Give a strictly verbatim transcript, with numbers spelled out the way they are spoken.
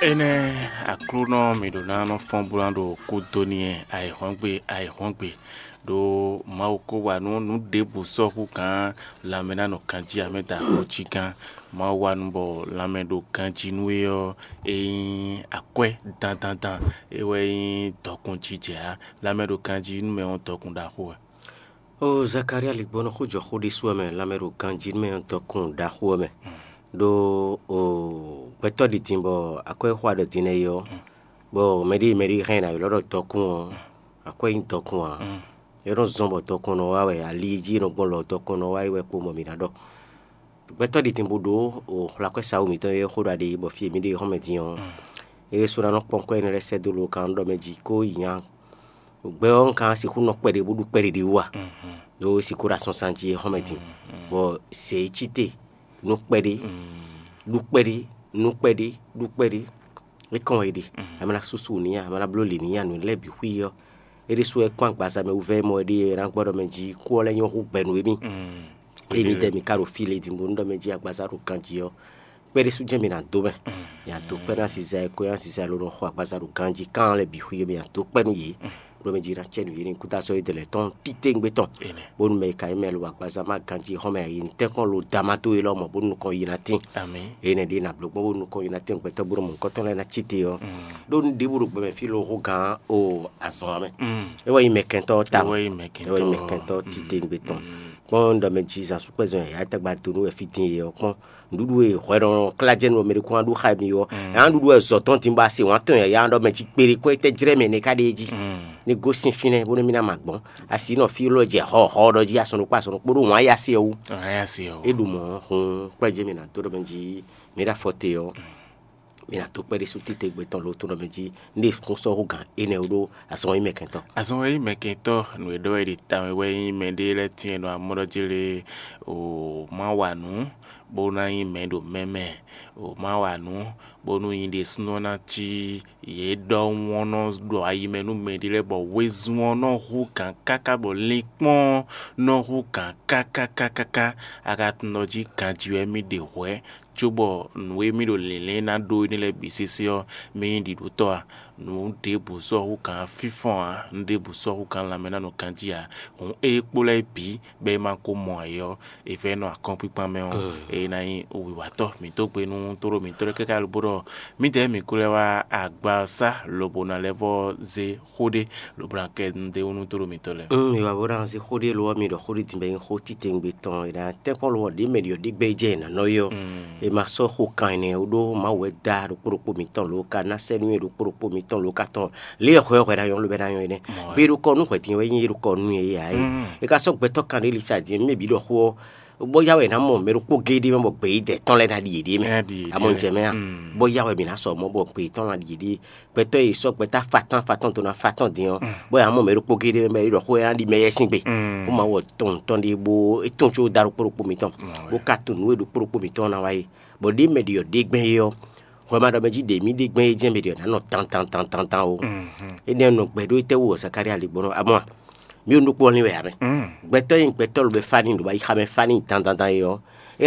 Énɛ́ Aklúnɔ mǐ ɖó ná nɔ fɔ́n bó ná ɖo kú dó n'i ayǐhɔ́ngbe ayǐhɔ́ngbe, ɖó Mawu ko wa nú nǔ ɖěbǔ sɔ́ hú gǎn lanmɛ ná nɔ ganjí amɛ da xó cí gán. Mawu wa nú bɔ lanmɛ ɖo ganjí nú é ɔ́, é nyí akwɛ́ dandandan, é wɛ nyí dɔkun jijɛ ǎ. Lanmɛ ɖo ganjí nú mɛ ɔ́ dɔkun ɖaxó wɛ. Oo, Zakalía ligbɔnɔ xó jɔ xó ɖésú wɛ mɛ, lanmɛ ɖo ganjí nú mɛ ɔ́ dɔkun ɖaxó wɛ mɛ. Ɖó oo, gbɛtɔ́ ɖi din bɔ akwɛ́ xó aɖɔ din nɛ́ é ɔ́, bɔ mɛɖée mɛɖée hɛn ná ylɔ́ ɖɔ dɔkun ɔ́, akwɛ́ nyí dɔkun ǎ. É nɔ zɔ́n bɔ dɔkun nɔ wá wɛ, ali e jí è nɔ gbɔn lɔ dɔkun nɔ wá é wɛ kpo mɔ mǐ ná ɖɔ. Gbɛtɔ́ ɖi din bó ɖó o xwlakwɛ́ sawu mǐtɔn e xó ɖɔ aɖe bɔ fí e mǐ ɖe xɔ́mɛ din ɔ́, é ɖésú ná nɔ kpɔ́n kwɛ́ énɛ́ lɛ́ɛ sɛ́ dó lo kan ɖɔ mɛ jí kó yi nya. Gbɛ ɔ́, un ka sixú nɔ kpɛɖé bó ɖu kpɛɖé ɖé wú a? Ɖó sixú ɖo asɔnsan jí e xɔ́mɛ din, bɔ sɛ e cí te nú kpɛɖé, ɖu kpɛɖé, nú kpɛɖé, ɖu kpɛɖé. É kɔn wɛ é ɖe. A ma ná súsú n'i a, a ma ná bló lě n'i a, nǔ lɛ́ɛ bǐ xwí ɔ́, é ɖésú wɛ kpɔ́n agbaza mɛ wúvɛ́ mɔ é ɖíe é ná gbɔ ɖɔ mɛ jí kú ɔ́ lɛ́ nyɔ́ hú gbɛ nú émí. Ée mǐdɛɛ mi ka ɖo fí le din bónú ɖɔ mɛ jí agbaza ɖo ganjí ɔ́, kpɛ́ ɖésú jɛ́n mi ná dó mɛ. Mi ná dó kpɛ́ nú aziza e ko nyí aziza e ló nɔ xo agbaza ɖo ganjí kan lɛ́ɛ bǐ xwí ɔ́, mi ná dó kpɛ́ nú yě. Ɖɔ mɛ jí ná cɛ nǔ yě ní kúta sɔ́ yědɛɛ lɛ́ɛ tɔn títewungbe tɔn. Bónú mɛ e ka nyí mɛ lo agbaza má ganjí xɔ́mɛ yi nǔ tɛ́nkpɔ́n lo dama towe lɔmɔ̌ bónú nukɔn yi ná tín. Énɛ́ ɖíe ná bló gbɔn bónú nukɔn yi ná tín gbɛtɔ́ bónú mɔ̌hunkɔtɔn lɛ́ɛ ná cí te ɔ́. Ɖó nú ɖěbǔ ɖo gbɛmɛ fí lo hú gǎn o azɔn ɔ́ mɛ. É wɛ nyí mɛkɛntɔ́ tawun. É wɛ nyí mɛkɛntɔ́ títewungbe tɔn. Kpɔ́n ɖɔ mɛ jí zan súkpɛ́zɔn yǎyá tɛgbɛ do nú wɛ fí din e ɔ́ kpɔ́n. Nǔɖuɖu e hwɛ nɔ klá jɛ nú mɛ ɖé kún wá ɖu xá mi ɔ́, yǎ nǔɖuɖu wɛ zɔ tɔn din bɔ a se wǎn tɔn yǎyá ɖɔ mɛ jí kpeɖé kɔ tɛ́ jlɛ́ mɛ nɛ́ ká ɖe é jí. Ní gosín fínɛ́ bónú mì ná ma gbɔn. A si nɔ fí lɔ jɛ hɔhɔ ɖɔ jí asɔn ɖokpó asɔn ɖokpó ɖó wǎn yá se ɔ́ wú. É ɖu mɔ̌ hun kpɛ́ jɛ mì ná dó ɖɔ mɛ jí mǐ ɖo afɔ te ɔ́, mǐ ná dó kpɛ́ ɖésú títewungbe tɔn lo tó ɖɔ mɛ jí ní ɖe kún sɔ́ hú gǎn énɛ́ wú ɖó azɔn e nyí mɛkɛntɔ́. Azɔn e nyí mɛkɛntɔ́, nǔ e ɖɔ wɛ ɖi tawun wɛ nyí mɛɖé lɛ́ɛ tínmɛ ɖo amɔ́ ɖɔ jí lé, o má wa nǔ bó ná nyí mɛ ɖo mɛ mɛ, o má wa nǔ bónú nyi ɖésúnɔ ná cí yě ɖɔhun ɔ́ nɔ ɖo ayi mɛ nú mɛɖé lɛ́ɛ bɔ wezun ɔ́ nɔ hú gǎn káká bɔ linkpɔ́n ɔ́ nɔ hú gǎn káká káká káká. A ka tunwun ɖɔ jí ganjí wɛ mì ɖe hwɛ̌, cóbɔ nǔ e mì ɖo lǐnlɛ́n ná ɖó énɛ́ lɛ́ɛ bǐ sésé ɔ́, mì nyí ɖiɖótɔ́ a? Nǔ ɖěbǔ sɔ́ hú gǎn fínfɔ́n ǎ, nǔ ɖěbǔ sɔ́ hú gǎn lanmɛ ná nɔ ganjí ǎ. Hǔn ée kpó lɛ́ɛ bǐ bɔ é ma ko mɔ ǎ é ɔ́, è vɛ́ nɔ akɔ́nkpíkpán mɛ ɔ́, é ná nyí wiwatɔ́ mǐtɔn gbe nú tóɖó mǐtɔn lɛ́ɛ káká lobo ɖɔ mǐdɛɛ mǐ ko lɛ́ wá agbaza lobo ná lɛ́ vɔ́ zé xó ɖé lobo ná kɛ nǔɖé wú nú tóɖó mǐtɔn lɛ́ɛ. Ŋ mi wa bó ná zé xó ɖé lo ɔ́, mi ɖɔ xó ɖé din bɔ é nyí xó titewungbe tɔn, è nǎ tɛ́nkpɔ́n lo ɔ́ ɖě mɛ ɖi ɔ́ ɖé gbɛ́ jɛ è nǎ nɔ yi ɔ́. È ma sɔ́ xo kan ɛnɛ ó ɖó Mawu wɛ dá ɖokpó ɖokpó mǐtɔn lo ka ná sɛ́ nú é ɖokpó ɖokpó mǐtɔn lo ka tɔn lě e hwɛ hwɛ ná nyɔ́ ló bɛ ná nyɔ́ é nɛ́. Bí é ɖo kɔ nú hwɛ̌ din wɛ nyí é ɖo kɔ nú é ǎ é. È ka sɔ́ gbɛtɔ́ kan ɖé lisa din mɛ bǐ ɖɔ xó ɔ́, bó yá wɛ è nǎ mɔ mɛ ɖokpó géé ɖé mɛ bɔ gbeyídɛ tɔn lɛ́ɛ ná ɖi yěɖée mɛ. Amɔ jɛ mɛ a? Bó yá wɛ mǐ ná sɔ mɔ̌ bɔ gbeyídɔn ná ɖi yěɖée. Gbɛtɔ́ e sɔ́ gbɛtɔ́ fatán fatán dó ná fatán din ɔ́, bó yá mɔ mɛ ɖokpó géé ɖé mɛ bɔ é ɖɔ xó e ná ɖi mɛ yɛ sín gbe. Bó ma wɔ tɔn tɔn ɖé bó é tɔn có dá ɖokpó ɖokpó mǐtɔn, bó ka tunwun nǔ e ɖokpó ɖokpó mǐtɔn ná wa é. Bɔ ɖě mɛ ɖi ɔ́ ɖě gbɛn é ɔ́, hwɛ ma ɖɔ mɛ jí ɖě mì ɖe gbɛn é jɛ́n mɛ ɖi ɔ́ ná nɔ tan tan tan tan tan o. Énɛ́ nɔ gbɛ ɖó étɛ́ wú ɔ́ Zakalía ligbɔnɔ amɔ a? Mì ɖo nukpɔ́ lin wɛ ǎ mɛ. Gbɛtɔ́ e gbɛtɔ́ lobɛ fá n'i ɖo wá yi xá mɛ fá n'i dandandan é ɔ́,